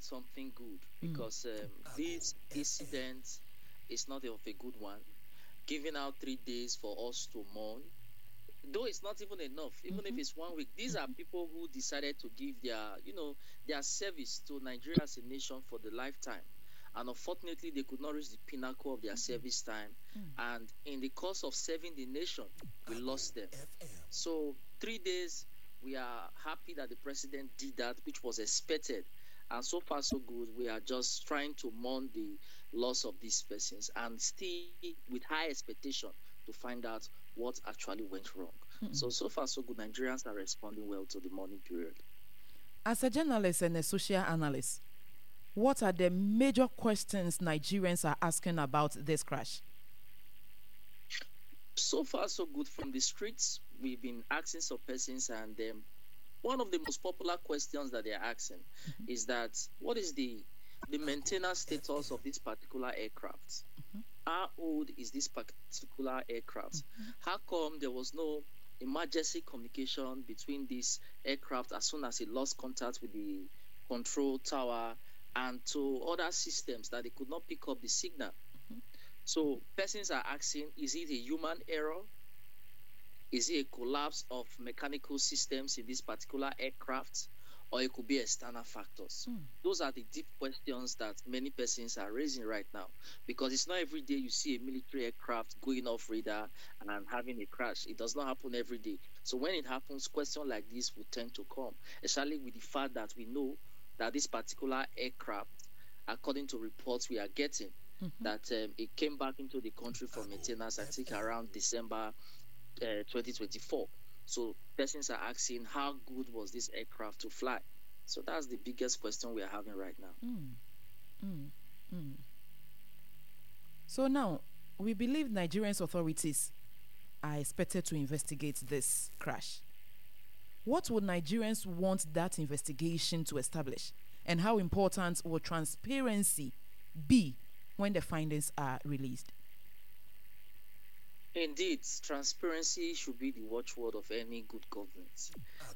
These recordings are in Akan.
not something good because this incident is not of a good one. Giving out 3 days for us to mourn, though it's not even enough, even if it's 1 week. These are people who decided to give their service to Nigeria as a nation for the lifetime. And unfortunately, they could not reach the pinnacle of their service time. And in the course of serving the nation, we lost them. So 3 days, we are happy that the president did that, which was expected. And so far, so good. We are just trying to mourn the loss of these persons and still with high expectation to find out what actually went wrong. So, so far, so good. Nigerians are responding well to the mourning period. As a journalist and a social analyst, what are the major questions Nigerians are asking about this crash? So far, so good. From the streets, we've been asking some persons, and one of the most popular questions that they're asking is that what is the maintenance status of this particular aircraft? How old is this particular aircraft? How come there was no emergency communication between this aircraft as soon as it lost contact with the control tower and to other systems that they could not pick up the signal? So persons are asking, is it a human error? Is it a collapse of mechanical systems in this particular aircraft? Or it could be external factors. Those are the deep questions that many persons are raising right now, because it's not every day you see a military aircraft going off radar and having a crash. It does not happen every day. So when it happens, questions like this will tend to come, especially with the fact that we know that this particular aircraft, according to reports we are getting, that it came back into the country for maintenance, I think around December 2024. So persons are asking, how good was this aircraft to fly? So that's the biggest question we are having right now. So now, we believe Nigerian authorities are expected to investigate this crash. What would Nigerians want that investigation to establish? And how important will transparency be when the findings are released? Indeed, transparency should be the watchword of any good governance.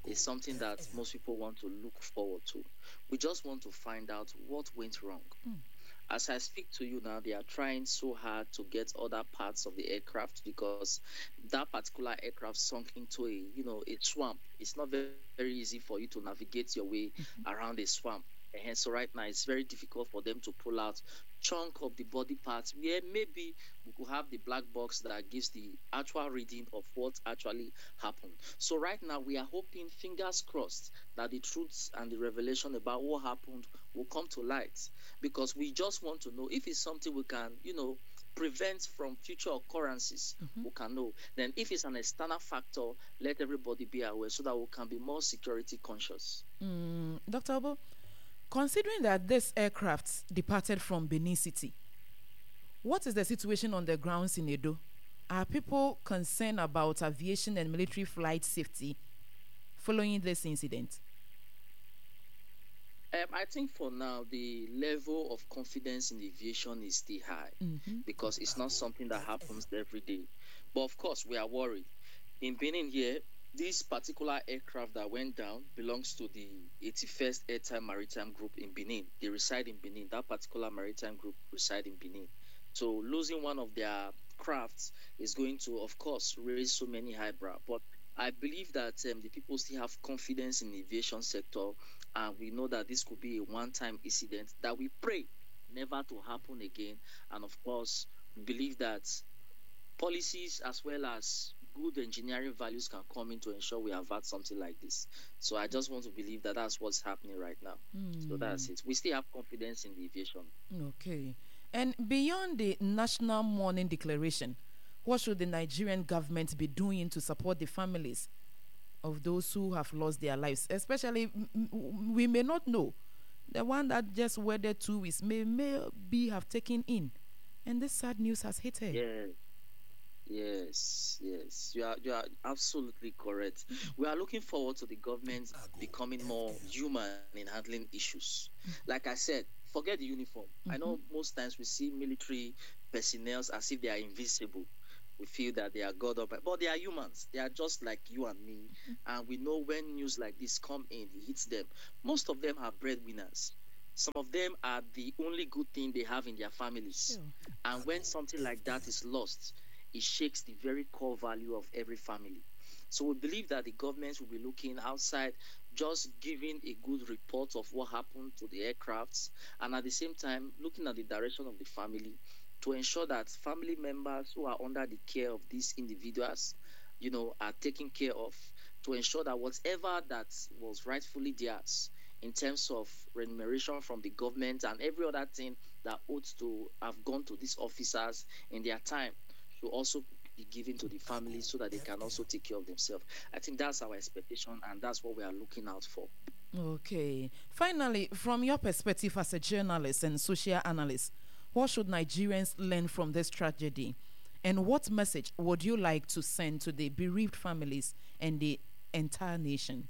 It's something that most people want to look forward to. We just want to find out what went wrong. As I speak to you now, they are trying so hard to get other parts of the aircraft because that particular aircraft sunk into a swamp. It's not very, very easy for you to navigate your way around a swamp. And so right now it's very difficult for them to pull out chunk of the body parts where maybe we could have the black box that gives the actual reading of what actually happened. So right now we are hoping, fingers crossed, that the truths and the revelation about what happened will come to light, because we just want to know if it's something we can prevent from future occurrences. We can know. Then if it's an external factor, let everybody be aware so that we can be more security conscious. Dr. Oboh, considering that this aircraft departed from Benin City, what is the situation on the grounds in Edo? Are people concerned about aviation and military flight safety following this incident? I think for now, the level of confidence in aviation is still high because it's not something that happens every day. But of course, we are worried. In Benin here, this particular aircraft that went down belongs to the 81st Airtime Maritime Group in Benin. They reside in Benin. That particular maritime group reside in Benin. So losing one of their crafts is going to, of course, raise so many eyebrows. But I believe that the people still have confidence in the aviation sector, and we know that this could be a one-time incident that we pray never to happen again. And of course, we believe that policies as well as good engineering values can come in to ensure we avert something like this. So I just want to believe that that's what's happening right now. So that's it. We still have confidence in the aviation. Okay. And beyond the national mourning declaration, what should the Nigerian government be doing to support the families of those who have lost their lives? Especially, we may not know, the one that just wedded 2 weeks may be have taken in. And this sad news has hit her. Yeah. Yes, yes, you are absolutely correct. We are looking forward to the government becoming more human in handling issues. Like I said, forget the uniform. I know most times we see military personnel as if they are invisible. We feel that they are God up, but they are humans. They are just like you and me. And we know when news like this come in, it hits them. Most of them are breadwinners. Some of them are the only good thing they have in their families. And when something like that is lost, it shakes the very core value of every family. So we believe that the government will be looking outside, just giving a good report of what happened to the aircrafts, and at the same time looking at the direction of the family to ensure that family members who are under the care of these individuals, are taken care of, to ensure that whatever that was rightfully theirs in terms of remuneration from the government and every other thing that ought to have gone to these officers in their time should also be given to the family so that they can also take care of themselves. I think that's our expectation, and that's what we are looking out for. Okay. Finally, from your perspective as a journalist and social analyst, what should Nigerians learn from this tragedy? And what message would you like to send to the bereaved families and the entire nation?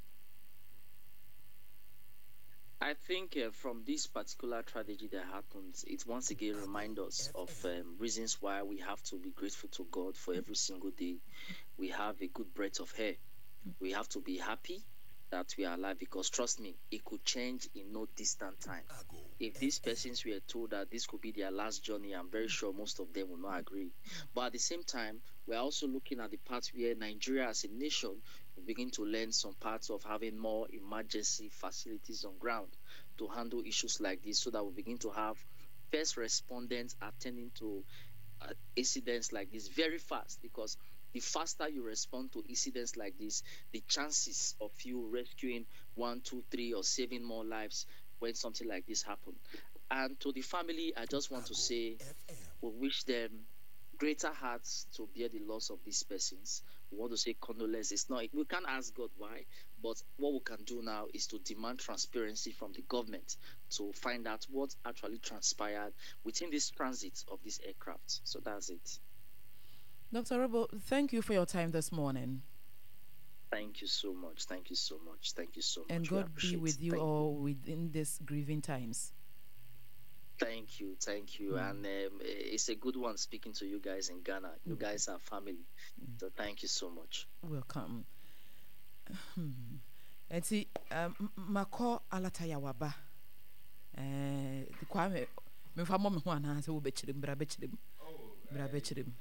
I think from this particular tragedy that happens, it once again reminds us of reasons why we have to be grateful to God for every single day we have a good breath of air. We have to be happy that we are alive, because trust me, it could change in no distant time. If these persons were told that this could be their last journey, I'm very sure most of them will not agree. But at the same time, we're also looking at the part where Nigeria as a nation will begin to learn some parts of having more emergency facilities on ground to handle issues like this, so that we begin to have first respondents attending to incidents like this very fast, because the faster you respond to incidents like this, the chances of you rescuing 1, 2, 3 or saving more lives when something like this happens. And to the family, I just want to say we wish them greater hearts to bear the loss of these persons. We want to say condolence. It's not, we can't ask God why, but what we can do now is to demand transparency from the government to find out what actually transpired within this transit of this aircraft. So that's it. Dr. Orogbo, thank you for your time this morning. Thank you so much. Thank you so much. Thank you so much. And We God be appreciate with it. you Thank all within these grieving times. Thank you. Thank you. And it's a good one speaking to you guys in Ghana. You guys are family. So thank you so much. Welcome. Enti, makɔ Alataya waba. Kwame, memfa mmɔ me ho anaasɛ wobɛkyerɛ mu, bra bɛkyerɛ mu. Bra bɛkyerɛ mu.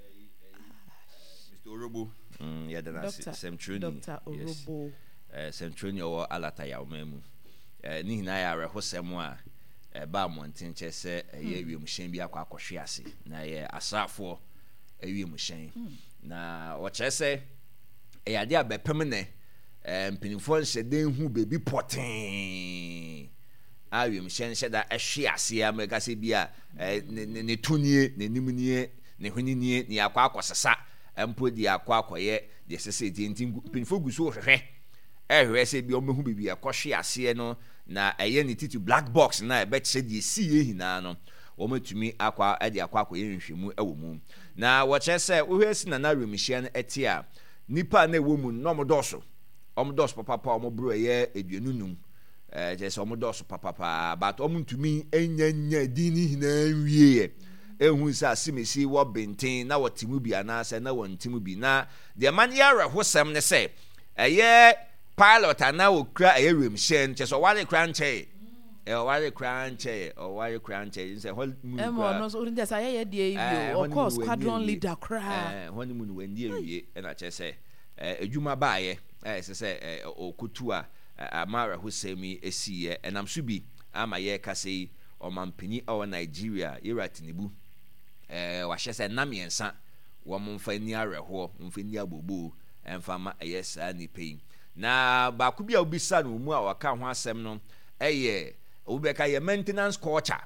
Mr. Orogbo, yɛda no ase. Doctor, Sɛmtwerɛni. Doctor Yes. Orogbo. Sɛmtwerɛni ɔwɔ Alataya ɔman mu. Ne nyinaa yɛ awerɛhosɛm a ɛba mmɔnten kyerɛ sɛ ɛyɛ wiemhyɛn bi akɔ akɔhwe ase, na ɛyɛ asraafoɔ wiemhyɛn. Na wɔkyerɛ sɛ ɛyɛ adeɛ a bɛpem nɛ, mpanimfoɔ nhyɛ den hu baabi pɔtee a wiemhyɛn hyɛ da ɛhwe ase a mɛka sɛ bi a, ne to nie, n'anim nie, ne hwene nie, ne akɔ akɔsesa mpo de akɔ akɔyɛ deɛ ɛsɛ sɛ ɛtie. Nti mpanimfoɔ gu so hwehwɛ, ɛhwehwɛ sɛ bi ɔmbɛhu baabi a ɛkɔhwe aseɛ no, na ɛyɛ ne titi black box na ɛbɛkyerɛ deɛ esi yɛ nyinaa no, wɔn atumi akɔ ɛde akɔ akɔyɛ nhwehwɛmu ɛwɔ mu. Na wɔkyerɛ sɛ wohwɛ si nana wiemhyɛn no ɛte a, nipa a na ɛwɔ mu no, na wɔn dɔɔso, wɔn dɔɔso papapa, wɔn boro ɛyɛ 25, kyerɛ sɛ wɔn dɔɔso papapa, but wɔn ntumi nya nya din ne nyinaa nwie yɛ. Ehu sɛ asemesi wɔ benten na wɔte mu bi anaasɛ na wɔn te mu bi. Na deɛ ma no yɛ awerɛhosɛm ne sɛ ɛyɛ pilot anaa okura ɛyɛ wiemhyɛn, kyerɛ sɛ ɔware kora nkyɛn. Ɔware kora nkyɛn, ɔware kora nkyɛn, sɛ hɔ mu Ɛma kora. ɔno nso, ɔno deɛ sɛ ayɛyɛ deɛ yi bi o, Ɛhɔ ne ɔkɔɔ mu no squadron wɔnni awie. leader koraa. Ɛhɔ ne mu no wɔnni awie, ɛna kyerɛ sɛ, edwuma baayɛ, ɛsɛ sɛ, ɔkotu a, ama awerɛhosɛm yi esiiɛ. Ɛnam so bi ama yɛrekasa yi, ɔmanpanyin a ɔwɔ Nigeria, Yewura Tinubu, wahyɛ sɛ nna 3 wɔn mfa nni awerɛhoɔ, wɔn mfa nni abooboo, ɛmfa ma ɛyɛ saa nipa yi. Na baako bi a wobisa no wɔ mu a wɔka ho asɛm no ɛyɛ, obi bɛka yɛ maintenance culture,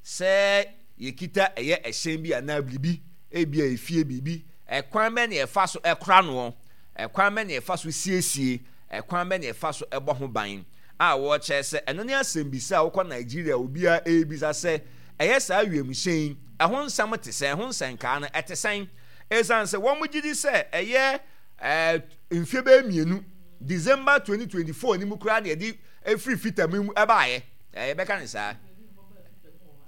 sɛ yɛkita ɛyɛ ɛhyɛn bi anaa biribi, ebi a efie biribi, ɛkwan bɛ na yɛfa so ɛkora noɔ, ɛkwan bɛ na yɛfa so siesie, ɛkwan bɛ na yɛfa so ɛbɔ ho ban, a wɔkyerɛ sɛ ɛno ne asɛmbisa a wokɔ Nigeria obiara ɛrebisa sɛ ɛyɛ saa wiemhyɛn ɛho nsɛm te sɛn, ɛho nsɛnkaa no ɛte sɛn, ɛsiane sɛ wɔn gye di sɛ ɛyɛ, mfeɛ bɛyɛ 2, December 2024 ni mu koraa na yɛde efiri fitam mu ɛbaayɛ, yɛbɛka ne saa,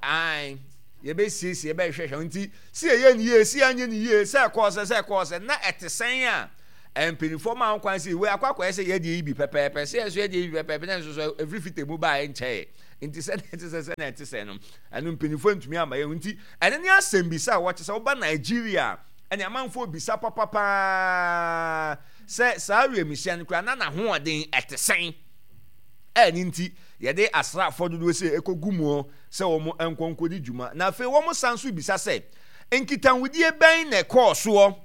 ae, yɛbɛsiesie, yɛbɛhwehwɛ, nti si yɛyɛ ne yie, si yɛanyɛ ne yie, sɛ ɛkɔɔ sɛ, sɛ ɛkɔɔ sɛ, na ɛte sɛn a mpanimfoɔ maa ho kwan sɛ wei akɔ akɔyɛ sɛ yɛdeɛ yi bi pɛpɛɛpɛ, sɛ yɛn nso yɛdeɛ yi bi pɛpɛɛpɛ, na nso so efiri fitam mu baayɛ nkyɛn. Nti sɛdeɛ ɛte sɛ sɛdeɛ ɛte sɛ no, ɛno mpanimfoɔ ntumi amma yɛn nti ɛno ne asɛmbisa a wɔkyɛ sɛ woba Nigeria a ɛne amanfoɔ bisa papapaa sɛ saa wiemhyɛn no koraa na n'ahoɔden ɛte sɛn ɛne nti yɛde asraafoɔ dodoɔ sɛ ɛkɔgu mu sɛ wɔn nkɔ nkɔdi dwuma. Na afei wɔn san so bisa sɛ nkitahodie bɛn na ɛkɔɔ soɔ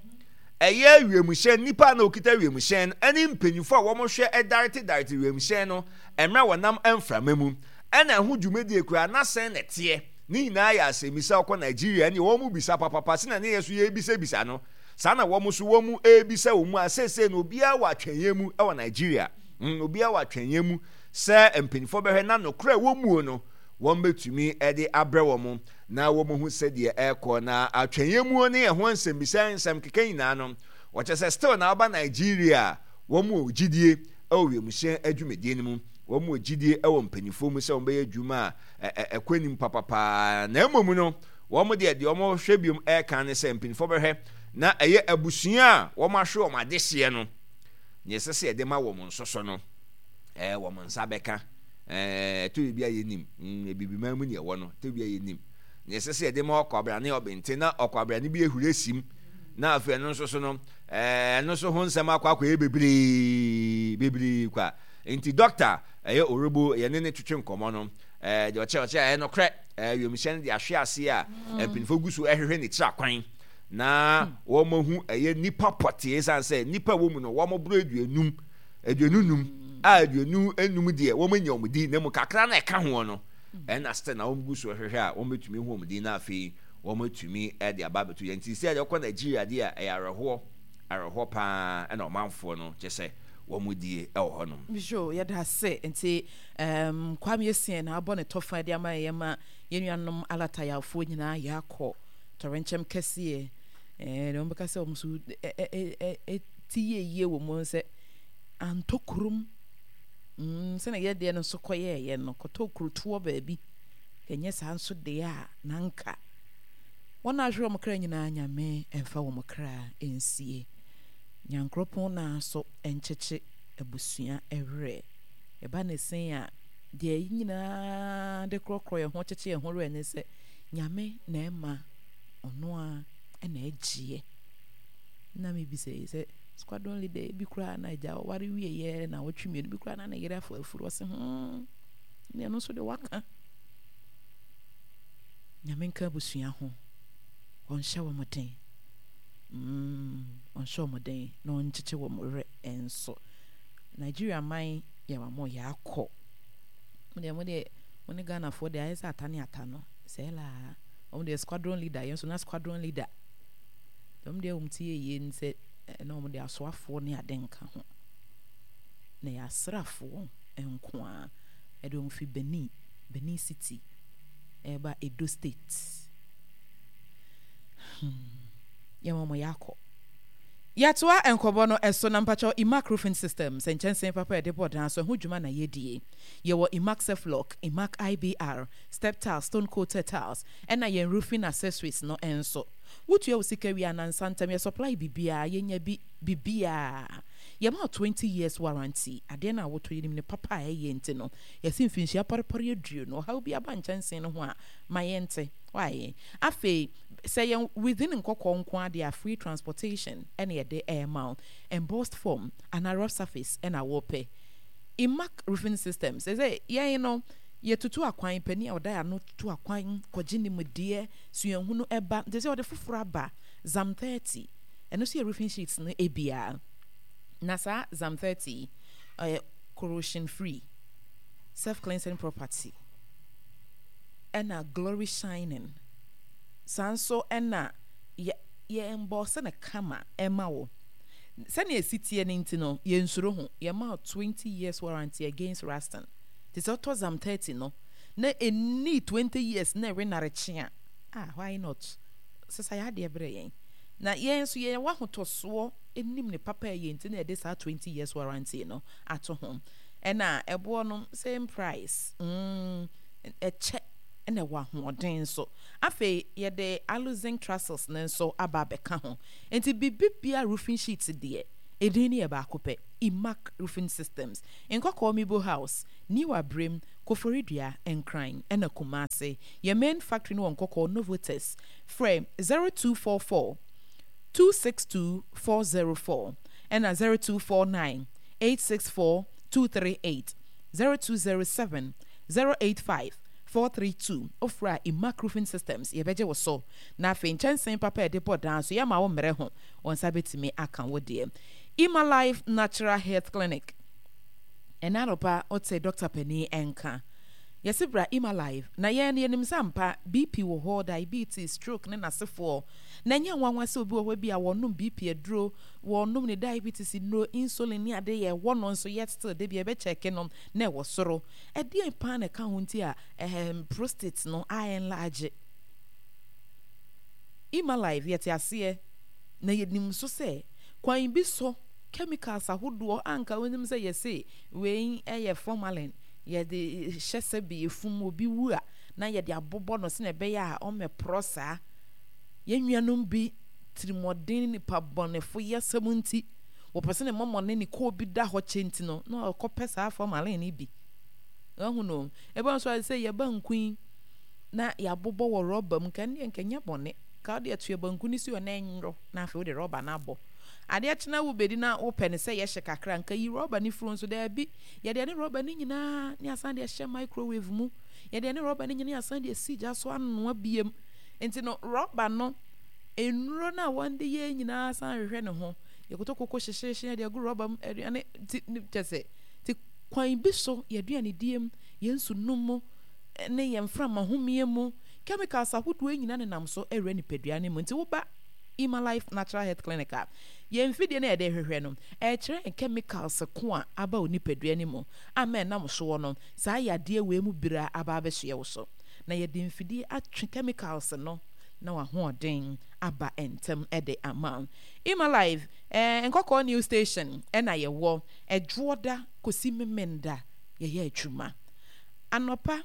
ɛyɛ wiemhyɛn nnipa a na wɔkita wiemhyɛn ɛne mpanyinfoɔ a wɔhwɛ ɛdarete darete wiemhyɛn no mmerɛ a wɔnam mframa mu, ɛna ɛho dwumadie koraa na sɛn na ɛteɛ? Ne nyinaa yɛ asɛmmisa, wokɔ Nigeria ɛneɛ wɔn bisa papapa sɛnea ne yɛn nso yɛrebisabisa no, saa na wɔn nso wɔn rebisa wɔn mu a seesei no obiara wɔ atwɛnyɛ mu wɔ Nigeria, mm, obiara wɔ atwɛnyɛ mu sɛ mpanimfoɔ bɛhwɛ na nokorɛ wɔ muo no wɔn bɛtumi de abrɛ wɔn na wɔn ahu sɛdeɛ ɛrekɔ na atwɛnyɛ muo ne ɛho nsɛmmisa nsɛm keka nyinaa no wɔkyɛ sɛ still na aba Nigeria wɔn wɔ gyidie wɔ wiemhyɛn adwumadie no mu. Wɔn wɔ gyidie wɔ mpanimfoɔ mu sɛ wɔbɛyɛ adwuma a ɛkɔ anim papapaa. Na mmom no, wɔn deɛ deɛ wɔhwɛ biom ɛreka ne sɛ mpanimfoɔ bɛhwɛ na ɛyɛ abusua a wɔahwe wɔn adehyeɛ no, deɛ ɛsɛ sɛ yɛde ma wɔn nso so no, ɛɛ wɔn nsa bɛka. Ɛɛ ɛtɔ biribi a yɛnim, abibiman mu ne ɛwɔ no, ɛtɔ biribi a yɛnim. Deɛ ɛsɛ sɛ yɛde ma ɔkwabrane ɔbente na ɔkwabrane bi ahuri asim na afei ɛno nso so no, Ɛno nso ho nsɛm akɔ akɔyɛ bebree bebree kwa. Nti dɔkta ɛyɛ Orobo yɛne ne twetwe nkɔmmɔ no, deɛ ɔkyerɛ ɔkyerɛ ɛyɛ nokorɛ, wiemhyɛn no de ahwe ase a mpanyinfoɔ gu so ɛhwehwɛ ne tiri akwan na wɔn ahu ɛyɛ nipa pɔtee ɛsiane sɛ nipa wɔ mu no wɔn boro aduonum 25 a 25 deɛ wɔn anya wɔn din na mu kakra na ɛka ho no ɛna still na wɔn gu so ɛhwehwɛ a wɔn bɛtumi hu wɔn din na afei wɔatumi de aba abɛto yɛn nti sɛ yɛkɔ Nigeria deɛ a ɛyɛ awerɛhoɔ awerɛhoɔ paa ɛna ɔmanfoɔ no kyɛ sɛ wɔn die ɛwɔ hɔ nom. Yo, yɛda ase. Nti um, Kwame Essien na abɔ ne tɔfa de ama yɛn ma yɛn nuanom Alatayafoɔ nyinaa yɛakɔ tɔrɛnkyɛm kɛseɛ. Eh, deɛ wɔbɛka sɛ wɔn so ti yie yie wɔ mu sɛ antɔ kurom. Sɛnea yɛdeɛ no nso kɔyɛɛyɛ no, kɔtɔ kurotoɔ baabi. Ɛnyɛ saa nso deɛ a, na anka wɔn a ahwere wɔn kra nyinaa Nyame mfa wɔn kra nsie. Nyankoropɔn naa so nkyekye abusua werɛ. Ɛba ne sen a, deɛ yɛn nyinaa de korɔkorɔ yɛn ho kyekye yɛn ho werɛ ne sɛ, Nyame na ɛma, ɔno ara na ɛgyeɛ. Na mebisa yi sɛ, squadron leader bi koraa na agya ɔware wieɛ na ɔtwe mmienu bi koraa na ne yere afa afuru ɔse hmm. Ne ɛno nso de waka. Nyame nka abusua ho. Ɔnhyɛ wɔn den. Ɔnhyɛ wɔn den na ɔnkyekye wɔn werɛ nso. Nigeria man yɛ wɔn mo yɛ akɔ. Mo deɛ mo deɛ mo ne Ghanafoɔ deɛ ayɛ sɛ ata ne ata no. Sɛ laa. Wɔn deɛ squadron leader yɛn nso na squadron leader. Wɔn deɛ wɔn ti yɛ yie sɛ na wɔn deɛ asoafoɔ ne ade nka ho. Na yɛ asraafoɔ nko ara. Ɛde wɔn fi Benin, Benin City, ɛreba Edo State. Hmm. Yɛma wɔn yɛakɔ. Yɛatoa nkɔbɔ no so na mpakyɛw Imac Roofing System sɛ nkyɛnsee papa a yɛde bɔ dan so ɛho dwuma na yɛdie. Yɛwɔ Imac Ceflock, Imac IBR, Step Tiles, Stone Coated Tiles, ɛna yɛn roofing accessories no nso. Wotua wo sika wie a nansa ntam yɛ supply biribiara, yɛnya bi, biribiara. Yɛma wo 20 years warranty, adeɛ no a wotɔ yɛnim ne papa a ɛyɛ nti no yɛse mfinhyia pɔrepɔre 20 ɔhaw bi aba nkyɛnsee no ho a ma yɛnte why afei sɛ yɛn within nkɔkɔɔ nko ara deɛ a free transportation ɛna yɛde ɛrema wo embossed form anaa rough surface ɛna wopɛ Imac roofing systems ɛsɛ yɛn no yɛtutu akwan panin a ɔda yɛn ano tutu akwan kɔgye nimdeɛ suahunu ɛba nti sɛ ɔde foforɔ aba Zam 30 ɛno nso yɛ roofing sheets no ebia. Na saa Zam 30 yi, ɔyɛ corrosion free, self cleansing property, ɛna glory shining. Saa nso ɛna yɛ yɛ emboss no kama ɛma wo. Sɛnea esi teɛ no nti no, yɛnsuro ho. Yɛma wo 20 years warranty against rusting. Te sɛ wotɔ Zam 30 no, na ɛnnii 20 years na ɛwe narekye a, ah, why not? Sesa yɛ adeɛ brɛ yɛn. Na yɛn nso yɛwɔ ahotɔsoɔ nim ne papa a ɛyɛ nti na yɛde saa 20 years warranty no ato ho. Ɛna ɛboɔ no same price, ɛkyɛ ɛna ɛwɔ ahoɔden nso. Afei yɛde alu zinc trusses no nso aba abɛka ho. Nti biribi biara roofing sheets deɛ, edin no yɛ baako pɛ, Imac Roofing Systems. Nkɔkɔɔ Mibo House. New Abrem, Koforidua, Nkran ɛna Kumasi. Yɛn main factory no wɔ Nkɔkɔɔ, Novotes. Frɛ 0244 262 404 ɛna 0249 864 238, 0207 085 432. Wofrɛ a Imac Roofing Systems yɛbɛgye wo so. Na afei nkyɛnsee papa a yɛde bɔ dan so yɛma wo mmerɛ ho, wo nsa bɛtumi aka wo deɛ. Ima Life Natural Health Clinic. Ɛnnɛ anɔpa wote dɔkta panin nka. Yɛse bra Ima Life na yɛn no yɛnim sɛ ampa BP wɔ hɔ, diabetes, stroke ne n'asefoɔ. Na ɛnyɛ nwanwa sɛ obi wɔ hɔ ebia wɔnom BP aduro, wɔnom ne diabetes nnuro, insulin ne ade yɛ ɛwɔ no nso yet still da bi yɛbɛ check no na ɛwɔ soro. Ɛdeɛn paa na ɛka ho nti a ɛɛm prostate no a enlarge? Ima Life yɛte aseɛ na yɛnim nso sɛ kwan bi so chemicals ahodoɔ a anka wonim sɛ yɛse wei yɛ formalin yɛde hyɛ sɛbe efum obi wu a na yɛde abobɔ no sɛnea ɛbɛyɛ a ɔmmɛporɔ saa. Yɛn nuanom bi tirimɔden ne nipa bɔnefo yasɛm nti, wɔpɛ sɛ ne mɔmɔne ne kɔɔ bi da hɔ kyɛ nti no, na ɔkɔpɛ saa formalin no bi. Wahu no? Ɛbɛn nso a sɛ yɛ banku yi na yɛabobɔ wɔ rɔba mu, nka ɛndeɛ nka ɛnyɛ bɔne. Ka wode atua banku no si hɔ na ɛnwo na afei wode rɔba no abɔ. Adeɛ kye na wobɛdi na wopɛ no sɛ yɛhye kakra, nka yi rɔba no firi nso daabi. Yɛde ɛne rɔba no nyinaa ne asan de ahyɛ microwave mu. Yɛde ɛne rɔba no nyinaa asan de asi gya so anoa biem. Nti no rɔba no, nnuro no a wɔde yɛ nyinaa san hwehwɛ ne ho. Yɛkoto koko hyehyeehye yɛde agu rɔba mu, aduane ti kyɛ sɛ ti kwan bi so yɛn aduanedie mu, yɛn nsu nom mu, ne yɛn mframa homeɛ mu, chemicals ahodoɔ nyinaa nenam so awura nipadua no mu. Nti woba Ima Life Natural Health Clinic a, yɛn mfidie no a yɛde rehwehwɛ no, ɛrekyerɛ yɛn chemicals ko a aba wo nipadua no mu ama ɛnam soɔ no, saa yadeɛ wei mu bira aba abɛsoɛ wo so. Na yɛde mfidie atwe chemicals no na w'ahoɔden aba ntɛm de ama wo. Ima Life, eh, Nkɔkɔɔ New Station ɛna yɛwɔ, Ɛdwoɔda kɔsi Memenda yɛyɛ adwuma. Anɔpa,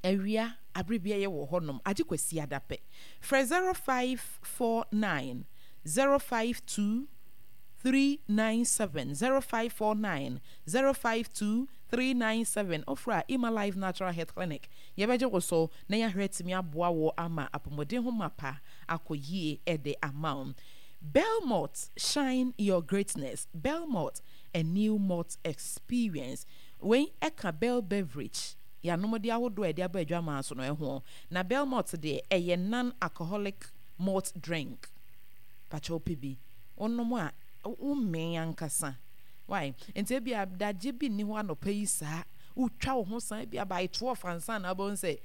awia, abere biara yɛwɔ hɔnom, agye Kwasiada pɛ. Frɛ 0549 052 397, 0549 052 397. Wofrɛ a, Emma Life Natural Health Clinic, yɛbɛgye wo so na yɛahwɛ atumi aboa wo ama apɔmuden ho mapa akɔ yie de ama wo. Belmont, shine your greatness. Belmont, a new malt experience. Wei ɛka Bell Beverage yɛanomde ahodoɔ a yɛde aba adwaman so no ho. Na Belmont deɛ ɛyɛ non-alcoholic malt drink. Pakyɛ wopɛ bi wonom a womee ankasa. Why? Nti ebia dagye bi nni hɔ anɔpa yi saa wotwa wo ho san ebia by 12 ansa na wobɛhu sɛ.